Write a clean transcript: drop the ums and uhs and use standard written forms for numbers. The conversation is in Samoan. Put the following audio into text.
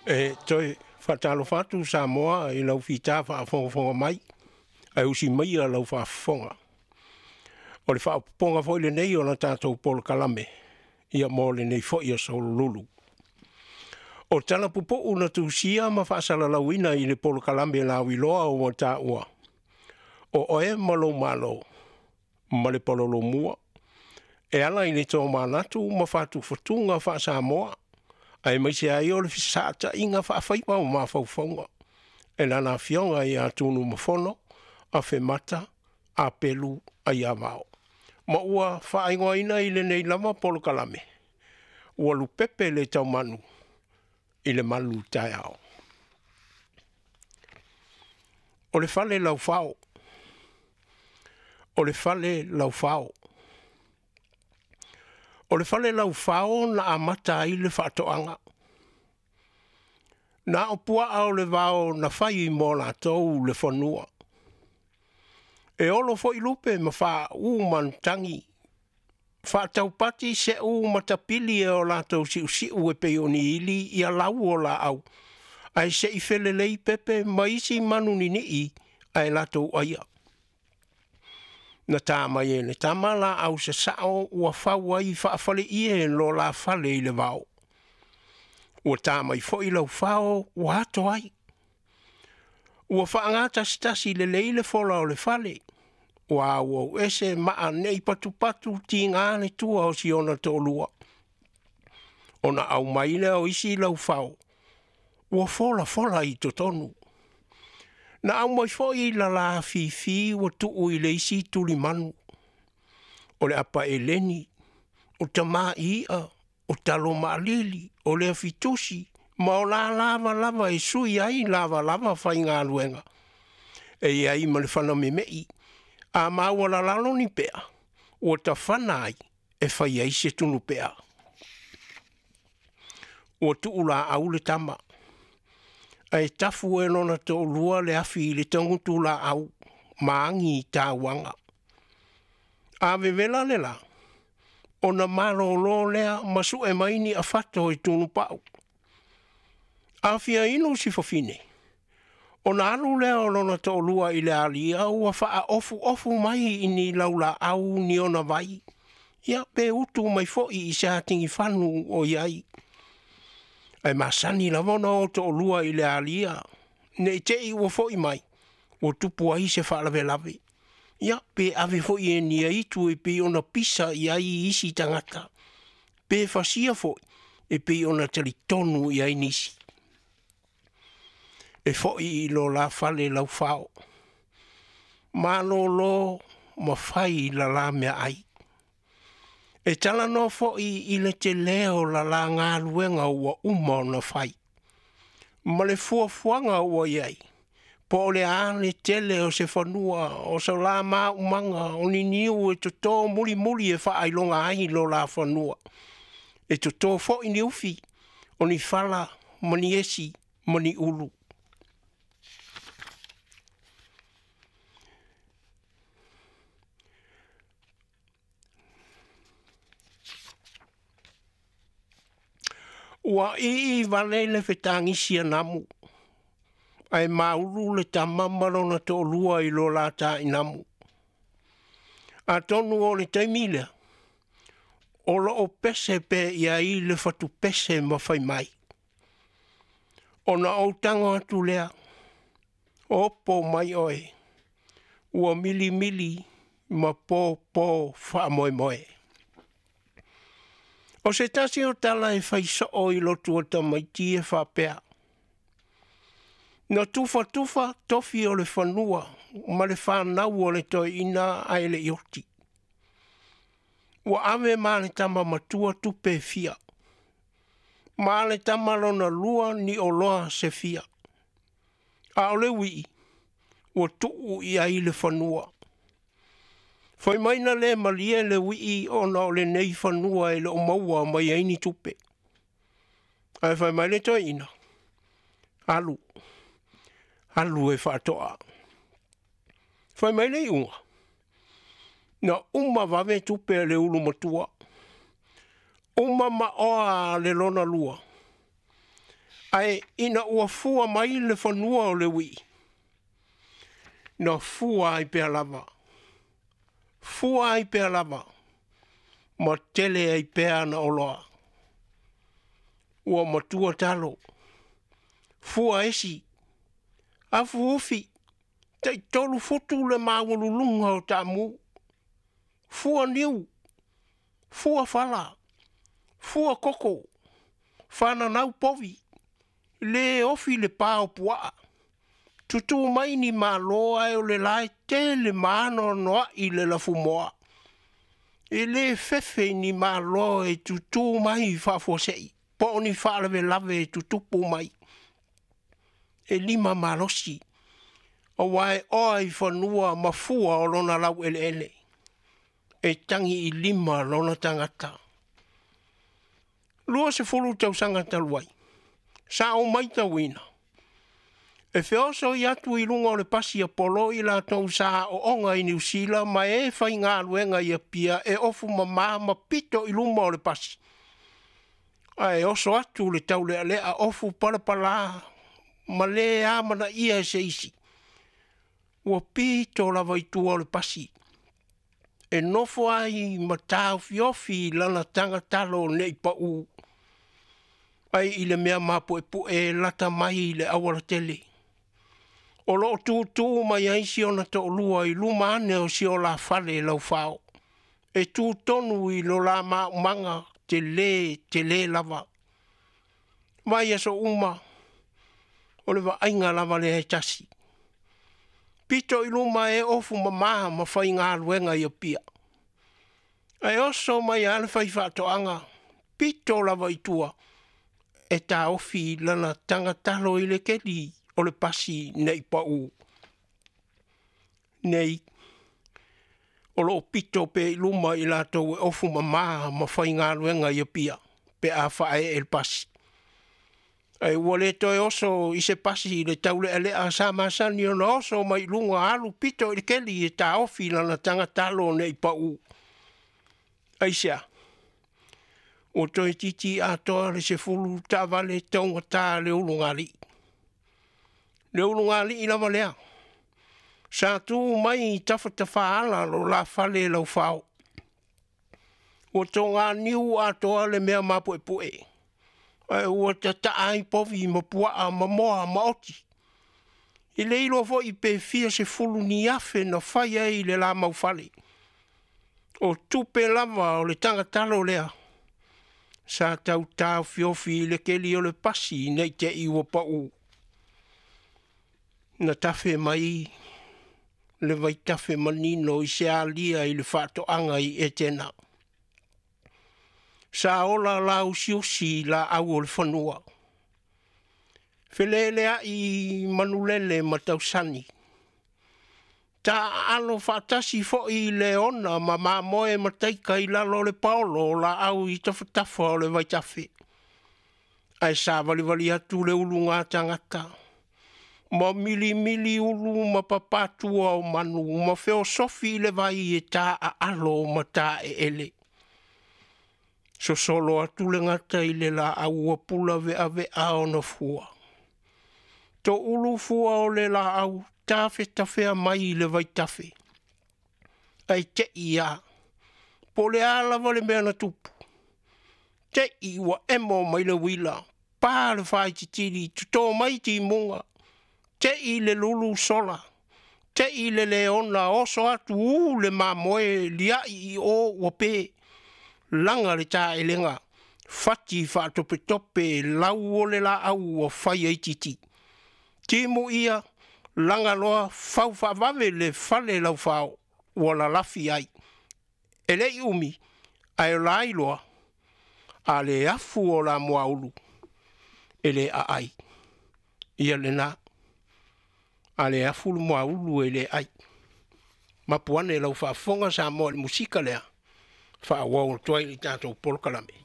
E toe faatalofa atu Samoa i lau fita faafogafoga mai, ae usi maia lau faafofoga. O le faaopoopoga foi lenei o la tatou polokalame, ia mo lenei foi aso lulu. O tala pupuu na tusia ma faasalalauina i le polokalame lauiloa ua taua, o oe ma lou Malo, ma le palolomua, e ala i le tomanatu ma whātufatuga whaasamoa, aemaise ai o le fesaataiga faafaiva o mafaufauga, e lana afioga ia Tunumafono, Afemata, Apelu Aiavao. Ma ua faaigoaina i lenei lava polokalame, ua lupepe le taumanu i le malu taeao. O le fale laufao. O le fale laufao. O le fale laufao na amata ai le faatoaga. Na o puaa o le vao na fai mo latou le fanua. E olo foi lupe ma faauu manutagi, faataupati seʻu ma tapili e o latou siusiu e pei o ni ili ia lau o laau, ae seʻi felelei pepe ma isi manu ninii ae latou aia. Na tā mai e le tama laau sasao ua fau ai faafaleie lo la fale i le vao. Ua tā mai foi laufao ua ato ai. Ua faagatasitasi lelei le fola o le fale, ua auau ese maa nei patupatu tiga le tua o si ona toalua. Ona au mai lea o isi laufao, ua folafola i totonu. Na au mai foi lala afifi ua tuu i le isi tulimanu. O le apa eleni, o tamā i'a, o talo maalili, o le afitusi, ma o la lava lava e sui ai lavalava faigaluega. E iai ma le fana memei, a maua lalalo ni pea, ua tafana ai e fai ai se tunu pea. Ua tuu laau le tama, ae tafu e lona toalua le afi i le tagutu laau, ma agi i tauaga. A vevela le la, ona malolo lea ma sue mai ni afato i tunupau. A fia inu si fafine, ona alu lea o lona toalua i le alia ua faaofuofu mai i ni laulaau ni ona vai, ia pe utu mai foi i se atigifanu o i ai. Ae masani lava ona o toalua i le alia, ne i te i ua foi mai, ua tupu ai se faalavelave. Ia pe ave foi e ni aitu e pei ona pisa i ai isi tagata, pe fasia foi e pei ona talitonu i ai nisi. E foi i lo la fale laufao, malolo ma fai la la mea ai. E talanoa foi i le tele o la la galuega ua uma ona fai, ma le fuafuaga ua i ai, po o le a le tele o se fanua, o so la maumaga, o ni niu e toto mulimuli e faailoga ai lo la fanua. E toto foi ni ufi, o ni fala, ma ni esi, ma ni ulu. Ua ii vale le fetagisi a namu, ae maulu le tama ma lona toalua i lo la tainamu. Atonu o le taimi lea, o loo pese pe i ai le fatupese ma fai mai. Ona ou tago atu lea, opo mai oe, ua milimili ma pōpō faamoemoe. O se tasi o tala e fai soo i lotu o tamaiti e faapea. Na tufatufa tofi o le fanua ma le whanau o le toeaina ae le i oti. Ua ave ma le tama matua tupe fia. Ma le tama lona lua ni oloa se fia. A o le uii, ua tuu i ai le fanua. Fai mai na le malie le uii ona o lenei fanua e le o maua mai ai ni tupe. Ae fai mai le toeaina, alu, alu e faatoa. Fai mai le iuga, na uma vave tupe a le ulu matua. Uma ma oa le lona lua. Ae ina ua fua mai le fanua o le ui'i, na fua ai pea lava, fua ai pea lava, ma tele ai pea ana oloa. Ua matua talo, fua esi, afu ufi, tai 3 futu le maualuluga o taamu, fua niu, fua fala, fua koko, fananau povi, le ofi le pā o puaa, tutū mai ni malo ae o le lae tele ma anoanoai le lafumoā. E lē fefe i ni malo e tutū mai faafuasei, po o ni faalavelave e tutupu mai. E 5 malosi, auā e oa i fanua ma fua o lona laueleele. E tagi i lima lona tagata. 20 tausaga talu ai, sa ou maitauina, e feosoi atu i luga o le pasi a Polo i latou sa aooga i Niu Sila ma e faigaluega i Apia e ofu mamā ma pito i luma o le pasi. Ae oso atu le taulealea ofu palapalā ma lē amanaia e se isi. Ua pito lava i tua o le pasi. E nofo ai ma taofiofi i lana tagatalo nei pau. Ai i le mea mapuepue e lata mai i le aualatele. O loo tūtū mai ai si ona toalua i luma ane o si o la fale laufao. E tūtonu i lo la maumaga te lē, te lē lava. Vai aso uma, o le vaaiga lava lea e tasi. Pito i luma e ofu mamā ma faigaluega i Apia. Ae oso mai a le faifaatoaga, pito lava i tua, e taofi lana tagatalo i le keli o le pasi nei pau. Nei, o loo pito pe i luma i latou e ofu mamā ma faigaluega i Apia, pe a faaee le pasi. Ae ua le toe oso i se pasi i le taulealea sa masani ona oso mai luga alu pito i le keli e taofi lana tagatalo nei pau. Aisea, ua toe titi atoa le 10 taavale taugatā le ulugalii. Le ulugalii lava lea. Sa tū mai i tafatafaala lo la fale laufao. Ua toganiu atoa le mea mapuepue. Ae ua tataa ai povi ma puaa ma moa ma oti. I le iloa foi pe fia 10 ni afe na fai ai le la maufale. O tupe lava o le tagatalo lea. Sa tau taofiofi i le keli o le pasi nei te i ua pau. Na tafe mai le vaitafe manino i se alia i le faatoaga i Etena. Sa ola la usiusi la au o le fanua. Feleleai manulele ma tausani. Ta alo faatasi foi i le ona ma mamoe ma taika i lalo o le paolo o la au i tafatafa o le vaitafe. Ae sa valivali atu le uluga tagata. Ma milimili ulu ma papatua o manu ma feosofi i le vai e tā aalo ma tā eele. Sosolo atu le gata i le laau ua pula veavea ona fua. To ulu fua o le laau tafetafea mai i le vaitafe. Ai te ia, po le a lava le mea na tupu. Te i ua emo mai le uila, pā le whaititiri, tutō mai timuga. Te i le lulu sola, te i le leona, oso atu u le mamoe, liai i o ua pē. Langa le tāelenga, fati whaatopetope, lau o le laau ua whai ai titi. Timu ia, langa loa, fau whaavave le fale laufao, ua lalafi ai. E lei umi, ae o la iloa, a le afu o la moaulu, e le aai. Ia le nā, a le afu le moaulu e le ai. Mapuane lau faafofoga Samoa i le musika lea, faaauau atu ai i le tatou polokalame.